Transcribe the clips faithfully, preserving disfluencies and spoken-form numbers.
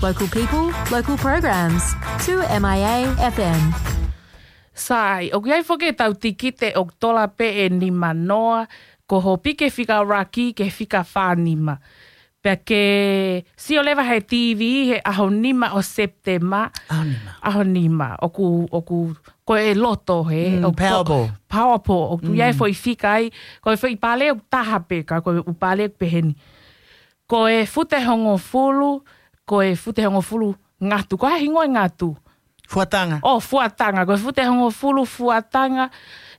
Local people, local programs. Two M I A F M. Sai, ʻoku ʻi ai foki ʻetau tikite ʻoku tola pē ʻe nima noa, ko hoʻo piki fika ʻuluaki ki he fika fā nima. Pea ke sio leva he T V he ʻaho nima ʻo Sepitema. ʻAho nima. ʻAho nima. ʻOku, ʻoku, ko e loto he, Mm, ʻoku to-, Powerball. Powerball. ʻOku ʻi ai Mm. foʻi fika ai, ko e foʻi pale ʻoku taha pē, ka ko e ʻū pale ʻoku peheni. Ko e fute hongofulu, ko e fute hongofulu ngatu. Ko e hā e hingoa e ngatu? Fuatanga. ʻO, fuatanga. Ko e fute hongofulu fuatanga,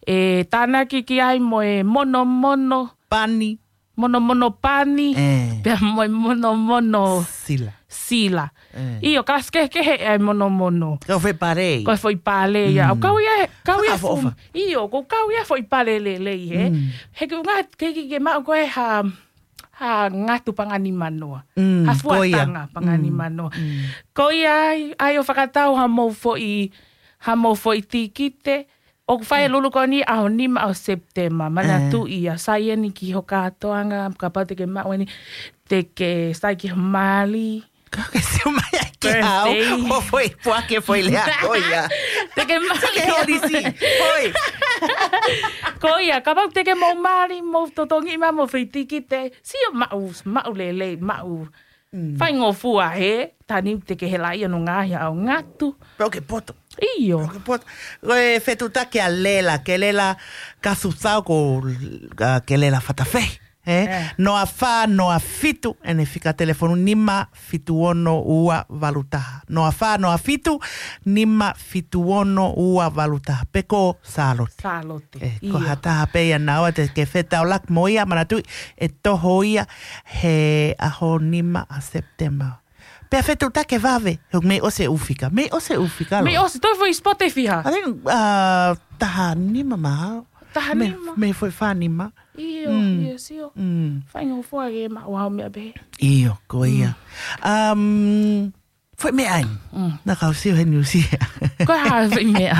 ʻe tānaki ki ai mo e monomono. Pani. Monomono pani. ʻE. Pea mo e monomono Sila. sila. ʻE. ʻIo, ka ʻosi kehekehe e monomono. Ko e foʻi pale. Ko e foʻi pale ia. Mm. ʻOku kau ia, kau ia Fakaʻofoʻofa. fu-, ʻio, ʻoku kau ia foʻi pale lelei he. Mm. He ke unga ke, ke, ke maʻu ko e hā, hā ngatu paʻanga nima noa. Mm, Hā ko ia. fuatanga paʻanga Mm. nima noa. Mm. Ko ia ai, ʻai ʻo fakatau haʻamou foʻi, haʻamou foʻi tikite. ʻOku fai e Mm. lulu ko eni ʻaho nima ʻo Sepitema. Manatuʻi ʻa Saieni ki ho kātoanga, kapau te ke maʻu eni, te ke sai ki ho mali. Ka ke sio mai ai ke au, Birthday. ʻo foʻi puake foʻi lea ko ia. Te ke mali. Te ke holisi. Hoi. Ko ia, kapau te ke mou mali, mou totongi mai mo foʻi tikite, sio maʻu, maʻu lelei, maʻu. Mm. Faingofua he, tani te ke hela ia no ngaahi ʻaho ngatu. Pea ʻoku ke poto. ʻIo. Pea ʻoku ke poto. Ko e fetuʻutaki ʻa Lela, Kelela Kasutau ko, ʻa, Kelela Fatafehi. He? ʻE. Noa fā, noa fitu, ʻene fika telefoni nima fitu ono ua valu taha. Noa fā, noa fitu, nima fitu ono ua valu taha. Pe ko Sālote. Sālote. ʻE, ko ʻIo. ha taha pē ia naua te ke fetaulaki mo ia, manatuʻi, ʻe toho ia he ʻaho nima ʻa Sepitema. Pea fetuʻutaki vave, he mei ʻosi e ʻū fika. Mei ʻosi e ʻū fika, Mei lo. ʻosi, toe foʻi spot ʻe fiha. I think, uh, taha nima mahalo. Taha Mei, nima. mei foʻi fā nima. ʻIo, Mm. ʻio, sio. Mm. Faingofua ke maʻu ʻaho meʻa pehē. ʻIo, ko ia. Mm. Um, foʻi meʻa ai. Mm. Naʻa ku sio he niusi. Ko e hā foʻi meʻa?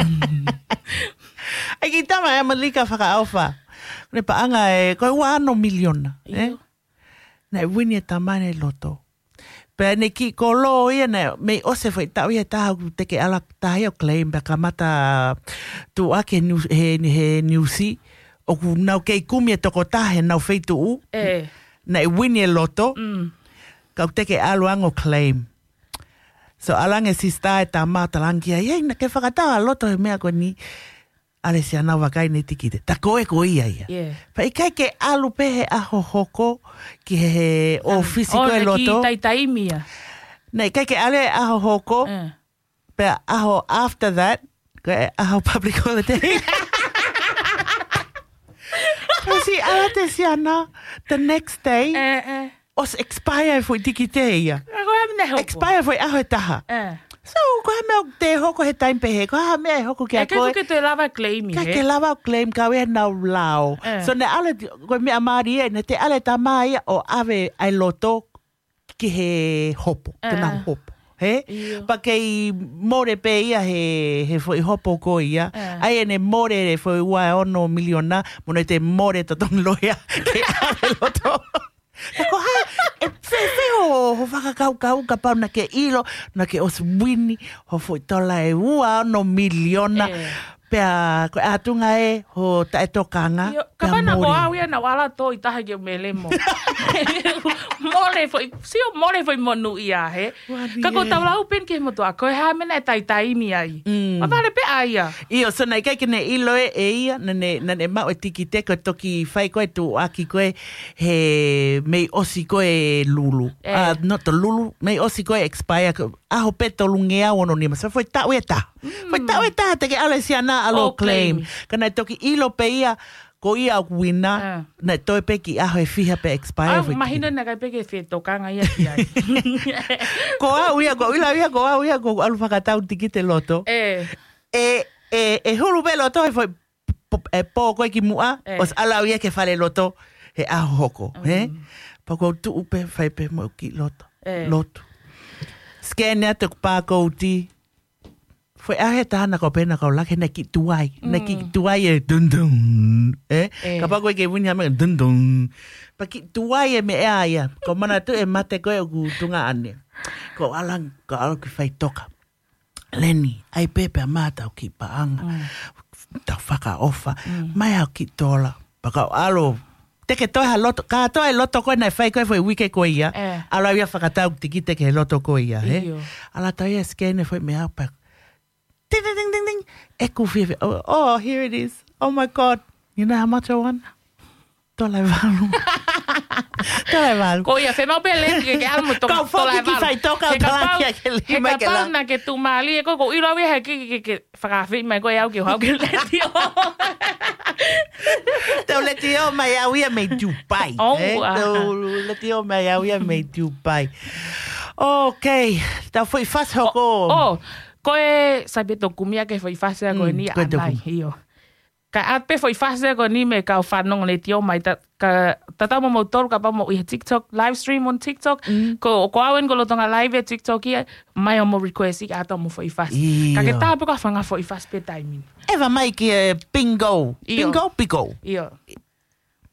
ʻAi ki tama e Malika fakaʻofa. Ne paʻanga e, ko e ua ono miliona, ʻIo. ʻe? Naʻe wini e tama ʻene loto. Pea ʻene kiʻi kolo ia naʻe, mei ʻosi e foʻi taʻu ia ʻe taha ʻoku teʻeki ke ʻalu ha taha ia ʻo claim pea kamata tuʻuaki he niu-, he, he niusi. ʻOku nau kei kumi e tokotaha he nau feituʻu. ʻE. Naʻe wini e loto. Mm. Ka ʻoku teʻeki ke ʻalu ange ʻo claim. So ʻalu ange e sisitā e tama ʻo talaange ki ai, "Hei, naʻa ke fakatau ha loto he meʻa ko eni." ʻAle siʻa nau vakai ʻene tikite. Ta ko e ko ia ia. Yeah. Pea ʻikai ke ʻalu pē he ʻaho hoko ki he, he ʻōfisi ʻo ko e ne ki loto. Taitaimi ia. Naʻe ʻikai ke ʻalu he ʻaho hoko. ʻE. Pea ʻaho after that, ko e ʻaho public holiday. Pea siʻi ʻalu atu e siana, the next day, ʻE, ʻe. ʻosi expire e foʻi tikite ia. Ka ko e hā e meʻa ʻe hoko? Expire e foʻi ʻaho ʻe taha. ʻE. So, ko e hā e meʻa ʻoku te hoko he taimi pehē, ko e hā e meʻa ʻe hoko kia ʻIkai koe? foki ke lava claim ʻIkai he? ke lava ʻo claim ka ʻoku ʻi ai ʻenau lao. ʻE. So, naʻe ʻalu, ko e meʻa mālie, naʻe ʻalu e tama ia ʻo ʻave ʻa e loto ki he hopo, ke ʻE. nau hopo. He? ʻIo. Pea kei mole pē ia he, he foʻi hopo ko ia. ʻE. ʻAi ʻene mole e foʻi ua ono miliona, mo ne te mole totongi loea ke ʻave loto. Ka ko e hā, ʻe fēfē hoʻo, hoʻo fakakaukau kapau naʻa ke ʻilo, naʻa ke ʻosi wini, hoʻo foʻi tola ʻe ua ono miliona, ʻE. pea ko e ʻatunga ē, hoʻo taʻetokanga, ʻIo, pea kapau naʻa ko mole. au ia naʻa ku ʻalu atu ʻi taha ke u melemo. Mole foʻi, sio mole foʻi monūʻia he. Ua ni Ka ko e. tau lau pē eni ki he motuʻa, ko e hā e meʻa naʻe taitaimi ai. Mm. Ma vale pē ʻa ia. ʻIo, so naʻe ʻikai ke ne ʻilo ʻe, ʻe ia, naʻa ne, naʻa ne maʻu e tikite ko e toki fai ko e tuʻuaki ko e he mei ʻosi ko e lulu. ʻE. Ah, not the lulu, mei ʻosi ko e expire, ko e ʻaho pē tolungeau ono nima. So foʻi taʻu ʻe taha. Mm. Foʻi taʻu ʻe taha te ke ʻalu e siana ʻalu ʻo ʻO claim. claim. Ka naʻe toki ʻilo pē ia, ko ia ʻoku wina, ʻE. naʻe toe pē ki ʻaho ʻe fiha pea expire ʻA, foʻi mahino tikite. naʻe ʻikai pē ke fetokanga ia ki ai. Ko au ia, ko au ʻilo ia, ko au ia, ko au ʻalu fakatau tikite loto. ʻE. ʻE, ʻe, ʻe hulu pē loto he foʻi p-, p-, ʻe pō ko ē ki muʻa, ʻE. ʻosi ʻalu au ia ki he fale loto, he ʻaho hoko, he? Mm. Pea ko u tuʻu pē, fai pē mo e kiʻi loto. ʻE. Lotu. Scan atu ʻeku pākouti, Foʻi ʻaho ʻe taha naʻa ku pehē naʻa ku laka he naʻe kiʻi tuai. Naʻe kiʻi tuai e dun dun. Ē? Kapau ko e ke wini hame dun dun. Pea kiʻi tuai e meʻa ia. Ko e manatu e mate ko ē ʻoku tuʻunga ʻanai. Ko e ʻalu ange, ko e ʻalu ki faʻitoka. Leni, ʻai pē pea mā tau kiʻi paʻanga. Tau fakaʻofa. Mai au kiʻi tola. Pea kau ʻalu. Te ke toe ha loto, ka toe loto ko ē naʻe fai ko ē foʻi uike ko ia. ʻAlu au ia fakatau tikite ki he loto ko ia, hē? ʻAlu atu ia scan e foʻi meʻa pea ting, ting, ting, ting, ting. ʻEku fiefia. Oh, oh, here it is. Oh my God. You know how much I won? Tola ʻe valu. Tola ʻe valu. Ko ia, fiemaʻu pē leti ke, ke ʻalu mo tola ʻe valu. Kau foki ki faʻitoka, he kapau, he kapau naʻa ke tuʻumālie, ko, ko ʻilo au ia he ke, ke, ke fakafeʻi mai ko e au ke hau ke leti o. Tau leti o mai au ia mei Dubai. Oh, ē? Tau leti o mai au ia mei Dubai. Okay, tau foʻi fasi hoko. Oh, ko e sai pē tokumi ake foʻi fasi ko eni ko e ʻanai, io. Ka ʻai pē foʻi fasi ko eni mei he kau fanongo leti o mai, ka tatau mo moutolu kapau mou ʻi he TikTok, live stream on TikTok, ko, ko au eni ko lolotonga live e TikTok ia, mai ʻo mou request ʻi ʻato mo foʻi fasi. Ka ke tā pē ko e fanga foʻi fasi pē taimi ni. ʻEva mai ki he bingo. Bingo, bingo. Io.